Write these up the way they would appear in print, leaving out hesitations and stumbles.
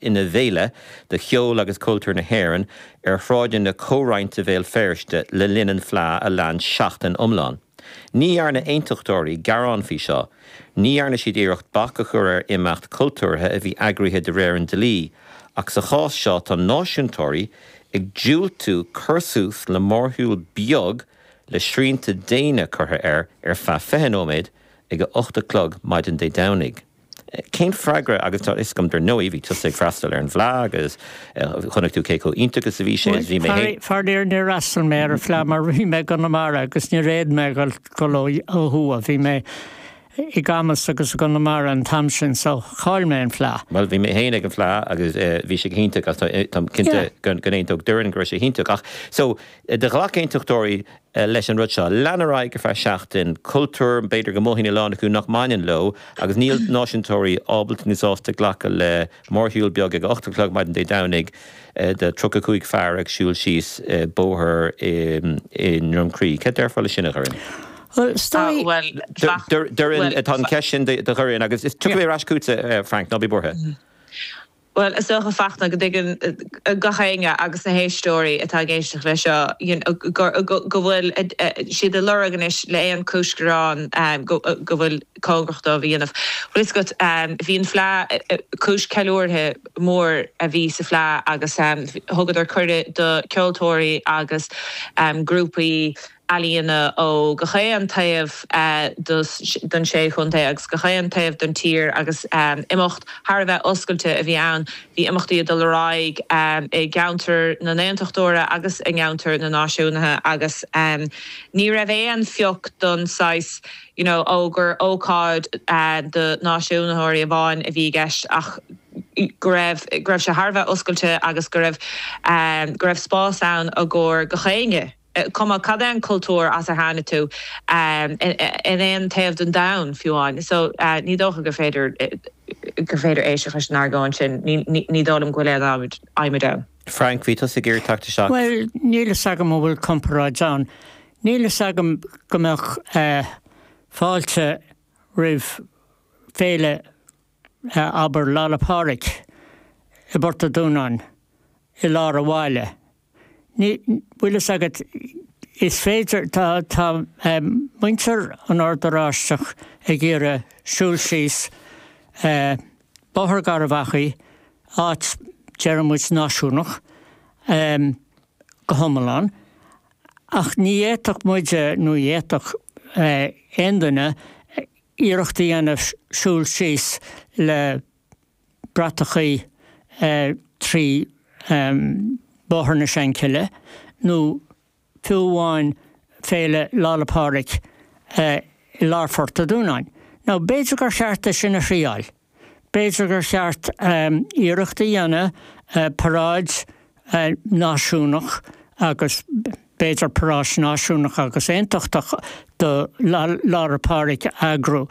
Ina bhféile do cheol agus cultúr na hÉireann ar shráideanna comhroinnte Bhéal Feirste le linn an Fleadh a lean seachtain iomlán. Ní dhearna aontachtóirí gearán faoi seo. Ní dhearna siad iarracht bac a chur ar imeacht cultúrtha a bhí eagraithe de réir an dlí, ach sa chás seo tá náisiúntóirí ag diúltú cur suas le mórshiúl beag le srianta déine curtha air ar feadh 20 nóiméad ag a 8 a chlog maidin Dé Domhnaigh. Cén freagra, agus tá fhios agam dar ndóigh, bhí tusa ag freastal ar an bhFleadh agus chonaic tú cé chomh iontach is a bhí sé agus bhí mé féin. Faraor níor fhreastail mé ar an Fleadh mar bhí mé i gConamara agus níor fhéad mé a dhul ó thuaidh. Bhí mé i gCamus agus i gConamara an t-am sin so chaill mé an Fleadh. Bhuel bhí mé féin ag an Fleadh agus bhí sé go hiontach agus táim cinnte go n-aontódh Doireann go raibh sé hiontach ach so do ghlac aontachtóirí leis an rud seo. Lean ar aghaidh ar feadh seachtain. Cultúr, b'fhéidir go mothaíonn a lán acu nach mbaineann leo agus níl náisiúntóirí ábalta nó sásta glacadh le mórshiúl beag ag a 8 a chlog maidin Dé Domhnaigh de 35 fear ag siúl síos bóthar i nDroim Crí. Cad déarfá le sin, a Dhoireann? Bhuel, is dóigh. Doireann, tá an cheist sin do Dhoireann agus tiocfaidh mé ar ais chugatsa, Frank, ná bí buartha. Bhuel, is dócha, Fachtna, go dtuigeann gach éinne agus na héisteoirí atá ag éisteacht leis seo go bhfuil siad ag lorg anois le aon chúis gearáin go bhfuil cóngarach dóibh a dhéanamh. Bhfuil fhios agat, bhí an Fleadh, cúis ceiliúrtha mór a bhí sa Fleadh agus thugadar cuireadh do ceoltóirí agus grúpaí ealaíona ó gach aon taobh den sé chontae agus gach aon taobh den tír agus imeacht thar a bheith oscailte a bhí ann. Bhí imeachtaí ag dul ar aghaidh i gceantar na nAontachtóirí agus i gceantar na Náisiúnaithe agus ní raibh aon phioc don saghas you know ó gur ócáid do náisiúnaitheoirí amháin a bhí i gceist ach go raibh go raibh sé thar a bheith oscailte agus go raibh go raibh spás ann i gcomhair gach éinne. cuma cad é an cultúr as ar tháinig tú, in aon taobh den domhan, fiú amháin. So, ní dócha gur féidir, gur féidir éisteacht leis an argóint sin. Ní dóigh liom go bhfuil aon adhmad ann. Frank, bhí tusa ag iarraidh teacht isteach. Bhuel, níl fhios agam an bhfuil comparáid ann. Níl fhios agam go mbeadh fáilte roimh féile, abair, Lá 'le Pádraig i bPort a' Dúnáin i lár a' bhaile. Ní, bhfuil fhios agat, is féidir, tá, tá muintir an Ord Oráisteach ag iarraidh siúl síos Bóthar Gharbh Achaidh, áit, deireann muid, náisiúnach, go hiomlán, ach ní fhéadfadh muide, nó ní fhéadfadh aon duine iarracht a dhéanamh siúl síos le bratachaí trí Bóthar na Seanchille nó fiú amháin Féile Lá 'le Pádraig i lár Phort a' Dúnáin. Now b'fhéidir gur cheart é sin a thriáil. B'fhéidir gur cheart iarracht a dhéanamh paráid náisiúnach agus b'fhéidir paráid náisiúnach agus aontachtach do Lá 'le Pádraig a eagrú.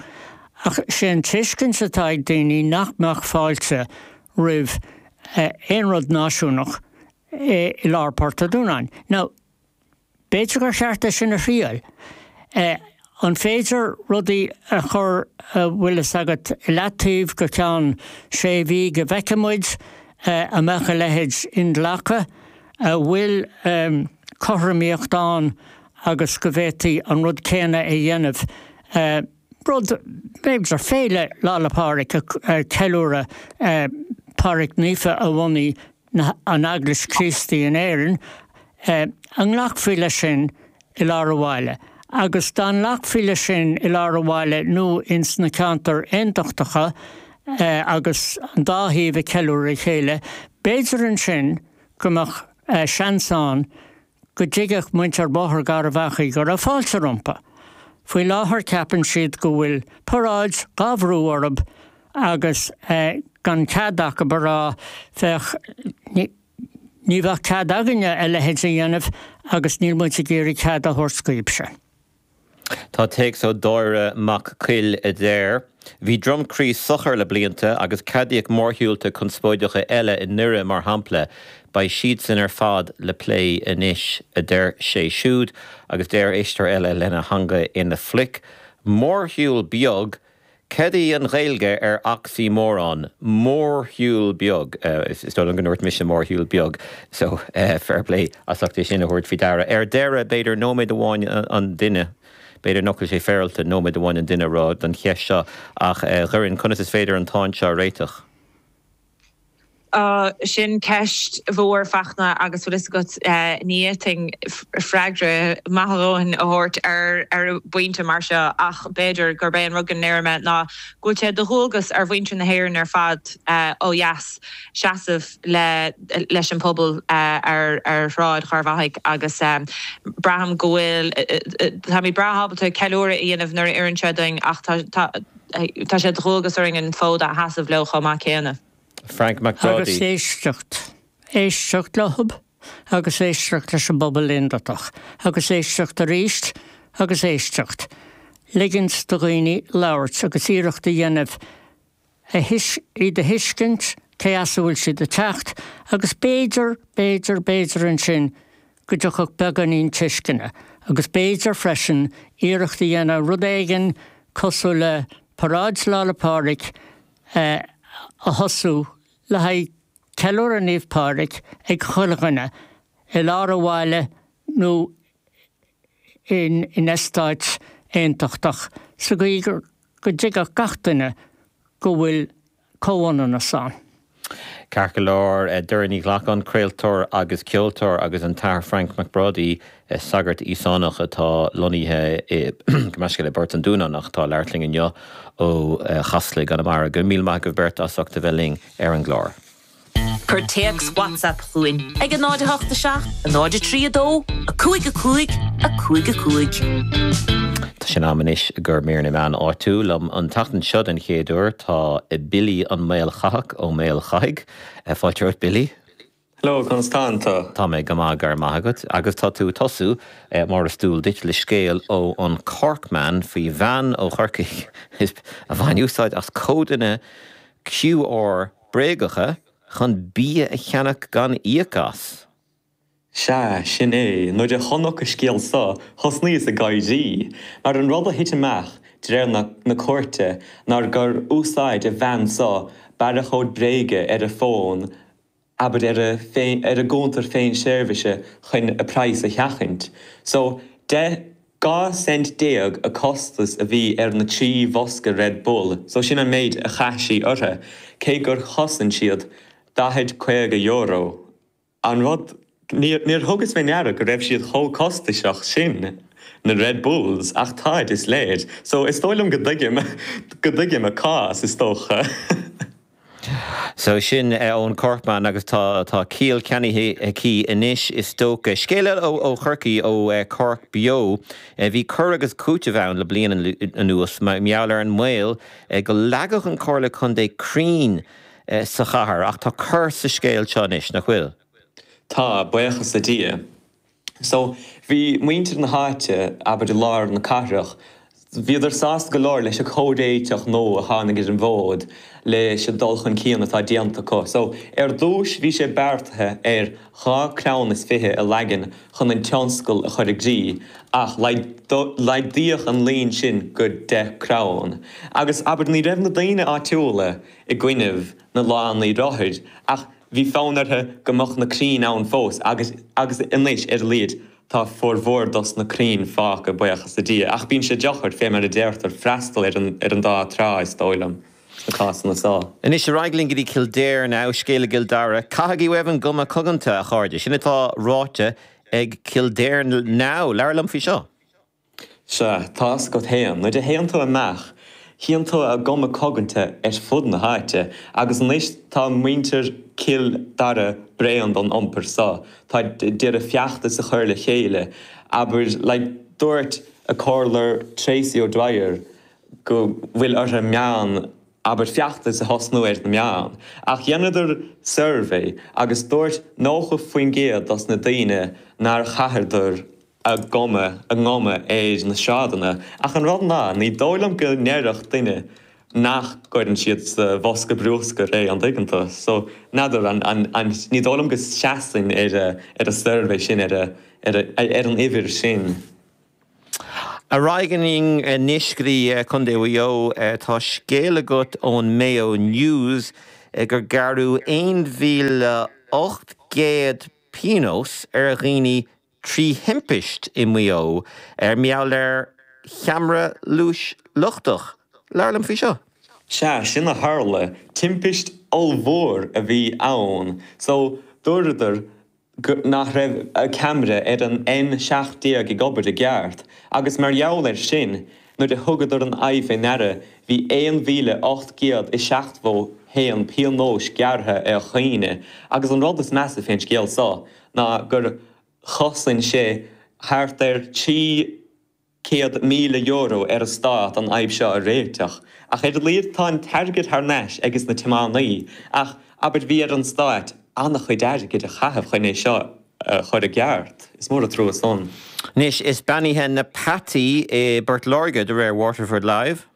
Ach sé an tuiscint atá ag daoine nach mbeadh fáilte roimh aon rud náisiúnach i lár Port a' Dúnáin. Now, B'fhéidir gur cheart é sin a thriail. An féidir rudaí a chur, a bhfuil fhios agat, i leataobh go ceann sé mhí go bhfeicfidh muid an mbeadh a leithéid inghlactha? An bhfuil cothromaíocht ann agus go bhféadfaí an rud céanna a dhéanamh, rud, b'fhéidir, Féile Lá 'le Pádraig ag ceiliúradh Pádraig Naofa a bhunaigh an Eaglais Chríostaí in Éirinn, an nglacfaí leis sin i lár an bhaile? Agus dá nglacfaí leis sin i lár an bhaile nó ins na ceantair aontachtacha agus an dá thaobh ag ceiliúradh a chéile, b'fhéidir ansin go mbeadh seans ann go dtuigfeadh muintir Bhóthar Gharbh Achaidh go raibh fáilte rompu. Faoi láthair ceapann siad go bhfuil paráid dhá bhrú orthu agus gan cead acu a rá féach ní bheadh cead againne a leithéid a dhéanamh agus níl muid ag iarraidh cead a thabhairt daoibhse. Tá téacs ó Dáire Mac Coill a deir, Bhí Droim Crí socair le blianta agus ceadaíodh mórshiúlta conspóideacha eile i nDoire mar shampla. Beidh siadsan ar fad le plé anois, a deir sé siúd agus deir éisteoir eile lena theanga ina phluic, Mórshiúl beag? Cad í an Ghaeilge ar oxymoron? Mórshiúl beag. Is dóigh liom go ndúirt mise mórshiúl beag, so fair play as ucht é sin a thabhairt faoi deara. Ar deireadh, b'fhéidir nóiméad amháin an duine, b'fhéidir nach bhfuil sé féaráilte nóiméad amháin an duine a rá don cheist seo, ach Dhoireann, conas is féidir an tsáinn seo a réiteach? Sin ceist mhór, Fachtna, agus bhfuil fhios agat, ní fhéadfainn freagra maith a dhóthain a thabhairt ar ar bpointe mar seo ach b'fhéidir gurb é an rud go ndéarfaidh mé ná go bhfuil sé de dhualgas ar mhuintir na hÉireann ar fad ó dheas seasamh le leis an pobal ar ar Shráid Gharbhachaidh agus braithim go bhfuil táimid breá ábalta ceiliúradh a dhéanamh nuair a oireann sé dúinn ach tá tá Tá sé de dhualgas orainn an fód a sheasamh leo chomh maith céanna. Frank Mac Brádaigh. Agus éisteacht. Éisteacht leo agus éisteacht leis an bpobal aontachtach agus éisteacht arís agus éisteacht. Ligint do dhaoine labhairt agus iarracht a dhéanamh iad a thuiscint, cé as a bhfuil siad ag teacht agus b'fhéidir, b'fhéidir, b'fhéidir ansin go dtiocfadh beagáinín tuisceana agus b'fhéidir freisin iarracht a dhéanamh rud éigin cosúil le Paráid Lá 'le Pádraig a thosú le haghaidh ceiliúradh Naomh Pádraig ag chuile dhuine i lár an bhaile nó in eastáit aontachtach sa gcaoi go dtuigfeadh gach duine go bhfuil comhionannas ann. Ceart go leor, Doireann Ní Ghlacáin, craoltóir agus ceoltóir agus an tAthair Frainc Mac Brádaigh, sagart Íosánach atá lonnaithe i gabh mo leithscéal i bPort an Dúnáin ach atá ag labhairt linn inniu ó Chasla i gConamara. Go raibh míle maith agaibh beirt as ucht a bheith linn ar an gclár. Cuir téacs WhatsApp chugainn ag 0 8 7 0 3 2 5 5 5 5. Tá sé in am anois do mhír na meán áitiúil. Liom an tseachtain seo den chéad uair tá Billy an Maolchathach Ó Maolchathaigh. Fáilte romhat Billy. Hello, conas tánn tú? Tá mé go maith, go raibh maith agat. Agus tá tú ag tosú, mar is dual duit, le scéal ó an Corkman faoi bhean ó Chorcaigh a bhain úsáid as códanna QR bréagacha chun bia a cheannach gan íoc as. Sea, sin é. Nuair a chonac an scéal so, thosnaíos ag gáirí. Mar an rud a thit amach, de réir na cúirte, ná gur úsáid an bhean so barrachód bréige ar a fón, abair ar a ar a gcuntar féin-seirbhíse chun a praghas a sheachaint. So, 10, 12 cent a costas a bhí ar na 3 bhosca Red Bull, so sin an méid a chaith sí orthu, cé gur chosain siad 40, 50 euro. An rud, níor thugas fé ndeara go raibh siad chomh costasach sin, na Red Bulls, ach táid, is léir. So is dóigh liom go dtuigim, go dtuigim a cás, is dócha. So sin ón Corkman agus tá tá ciall ceannaithe aici anois is dócha. Scéal eile ó Chorcaigh, ó Cork Beo. Bhí cur agus cúiteamh ann le bliain anuas mar gheall ar an mbaol go leagfadh an Chomhairle Contae crainn sa chathair ach tá cor sa scéal seo anois, nach bhfuil? Tá, buíochas le Dia. So, bhí muintir na háite, abair i lár na cathrach, bhíodar sásta go leor leis an chomhréiteach nua a tháinig ar an bhfód leis an dul chun cinn atá déanta acu. So, ar dtúis bhí sé beartaithe ar 2 crann is 20 a leagan chun an tionscal a chur i gcrích ach laghdaíodh an líon sin go 10 crann. Agus, abair, ní raibh na daoine áitiúla i gcoinnibh na lánaí rothair ach Bhí fonn orthu go mbeadh na crainn ann fós agus agus anois ar a laghad tá formhór dos na crainn fágtha, buíochas le Dia. Ach bíonn sé deacair, fé mar a deirtear, freastal ar an ar an dá trá, is dóigh liom, sna cásanna so. Anois ar aghaidh linn go dtí Kildare now, scéal i gCill Dara. Caithigí uaibh an guma coganta, a chairde. Sin atá ráite ag Kildare Now. Labhair liom faoi seo. Sea, tá's agat fhéin, nuair a théann tú amach, chíonn tú a gcuma coganta ar fud na háite, agus anois tá muintir Chill Dara bréan don iompar so, tá d'iarraidh feachtas a chur le chéile, abair, like, dúirt a comhairleoir Tracey O'Dwyer go bhfuil orthu meán, abair, feachtas a thosnú ar na meáin. Ach dheineadar suirbhé agus dúirt 90% dos na daoine nár chaitheadar a gcuma, a nguma ar na sráideanna. Ach an rud ná, ní dóigh liom go ndéarfadh duine nach gcuireann siad sa bhosca brúscair é, an dtuigeann tú? So, n'fheadar, an, an, an, ní dóigh liom go seasann ar a, ar an suirbhé sin, ar a, ar a, ar an uimhir sin. Ar aghaidh linn anois go dtí Contae Mhaigh Eo. Tá scéal agat ón Mayo News gur gearradh 1,800 pionós ar dhaoine trí thimpist i Maigh Eo mar gheall ar cheamara luais lochtach. Labhair liom faoi seo. Sea, sin a tharla. Timpist ollmhór a bhí ann. So, dúradar nach raibh ceamara ar an N17 ag obair i gceart, agus mar gheall air sin, nuair a thugadar an fhadhb fé ndeara, bhí 1,871 pionóis gearrtha ar dhaoine. Agus an rud is measa fén scéal so ná gur chosain sé thart ar €300,000 ar an stát an fhadhb seo a réiteach. Ach ar a laghad tá an t-airgead thar n-ais ages na tiománaí. Ach abair bhí ar an stát an-chuid airgid a chaitheamh chun é seo a chur i gceart. Is mór an trua san. Anois is beannaithe na peataí i bPort Láirge de réir Waterford Live.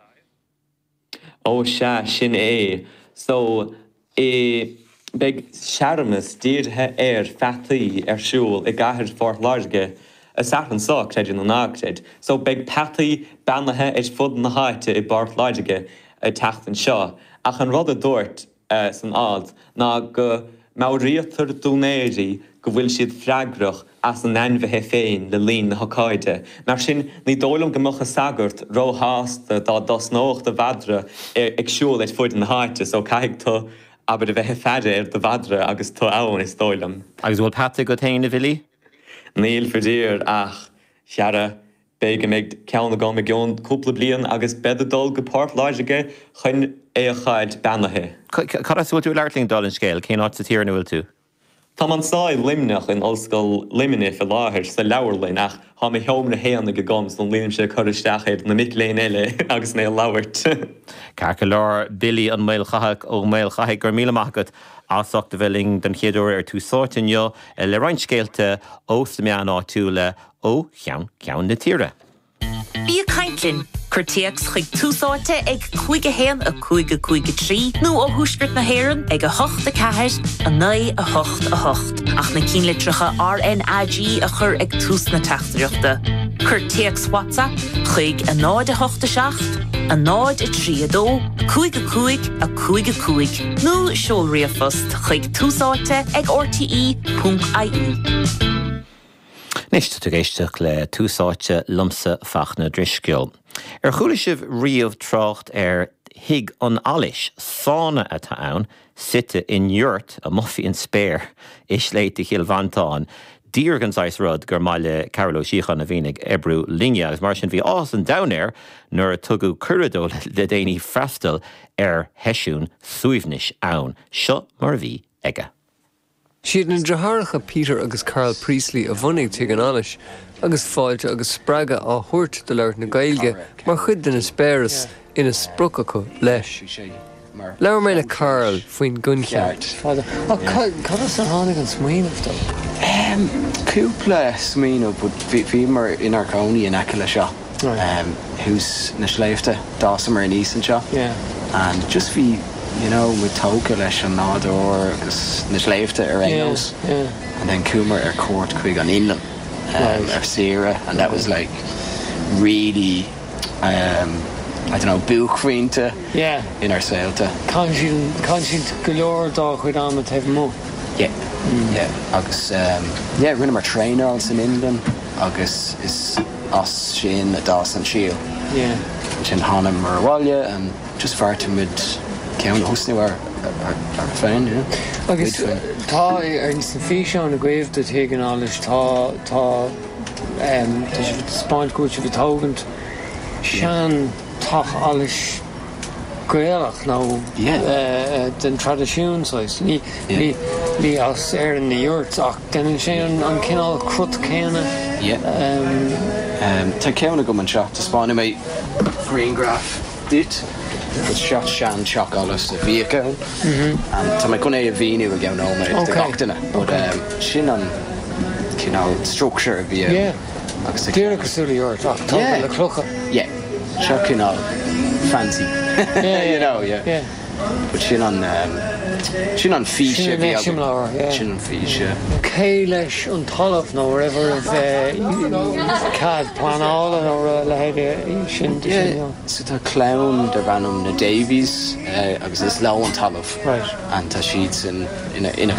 Ó sea, sin é. So, i, beidh searmanas dírithe ar pheataí ar siúl i gcathair Phort Láirge an Satharn seo, creid é nó ná creid. So, beidh peataí beannaithe ar fud na háite i bPort Láirge an tseachtain seo. Ach an rud a dúirt san alt ná go meabhraítear d'úinéirí go bhfuil siad freagrach as a n-ainmhithe féin le linn na hocáide. Mar sin, ní dóigh liom go mbeadh an sagart róshásta dá dtosnódh do mhadra ag siúl ar fuaid na háite, so caithfidh tú, abair, a bheith ag faire ar do mhadra agus tú ann, is dóigh liom. Agus an bhfuil peata agat féin, a Bhilly? Níl, faraor, ach, chara, B'fhéidir go mbeidh ceann agam i gceann cúpla bliain agus bead ag dul go Port Láirge chun é a fháilt beannaithe. Cad as a bhfuil tú ag labhairt linn, dála an scéil? Cén áit sa tír ina bhfuil tú? Táim anso i Luimneach, in Ollscoil Luimnigh fé láthair, sa leabharlann, ach tá mo sheomra fhéinig agam so nílimse ag cur isteach ar na mic léinn eile agus mé ag labhairt. Ceart go leor, Billy an Maolchathach Ó Maolchathaigh, go raibh míle maith agat as ucht a bheith linn don chéad uair ar Tús Áite inniu le roinnt scéalta ós na meáin áitiúla. ó cheann ceann na tíre. Bí ag caint linn! Cuir téacs chuig Tús Áite ag 5 1 5 5 3 nó ó Thuaisceart na hÉireann ag 8 4 9 8 8 ach na cinnlitreacha RnaG a chur ag tús na teachtaireachta. Cuir téacs WhatsApp chuig 0 8 7 0 3 2 5 5 5 5 nó seol ríomhphost chuig túsáite ag rte.ie. Anois, tá tú ag éisteacht le Tús Áite liomsa Fachtna Drisceoil. Ar chuala sibh riamh trácht ar Thigh an Allais? Sána atá ann, suite in yurt amuigh faoin spéir i sléibhte Chill Mhantáin. Díreach an saghas rud gur maith le Cearbhall Ó Síocháin a bhíonn ag oibriú linne agus mar sin bhí áthas an domhain air nuair a tugadh cuireadh dó le déanaí freastal ar sheisiún suaimhnis ann. Seo mar a bhí aige. Siad na deartháireacha Peter agus Karl Priestley a bhunaigh Tigh an Allais, agus fáilte agus spreagadh á thabhairt do labhairt na Gaeilge mar chuid den eispéireas ina sprioc acu leis. Labhair mé le Karl faoin gcoincheap. Ach cad as a tháinig an smaoineamh dó? Cúpla smaoineamh but bhíomar inár gcónaí in aice le seo. Thuas na sléibhte, d'fhásamar aníos anseo and just bhí you know muid tógtha leis an nádúr agus na sléibhte ar aon nós and then chuamar ar cuairt chuig an Fhionlainn ar saoire and that was like really um I don't know buaicphointe inár saolta. Caitheann siad go leor dá chuid ama taobh amuigh. Yeah yeah agus yeah rinneamar traenáil san Fhionlainn agus is as sin a d'fhás an síol. Ansin thánamar abhaile and just bheartaigh muid ceann a thosnú ár féin, you know. Agus tá ar sna físeáin agaibh de Thigh an Allais tá tá tá sibh ag taispeáint go bhfuil sibh ag tógaint sean teach allais Gaelach nó den traidisiún saghas. Ní ní as Éirinn na yurts ach déanann sé an cineál crut céanna. Tá ceann agam anseo, taispeánfaidh mé grianghraf duit. Seo sean teach allais a bhíodh ann. Tá mé chun é a mhíniú i gceann nóiméad do gach duine but sin an cineál structure a bhí ann. Agus Díreach cosúil le yurt ach tógtha le clocha. Yeah. Seo cineál fancy. You know, yeah. But sin an. Sin an fís a bhí againn. Sin an fís, yeah. Cé leis an talamh nó raibh oraibh cead pleanála nó a leithéid sin de sin? Yeah, so tá clann darb ainm na Davies agus is leo an talamh. Right. And tá siadsan ina.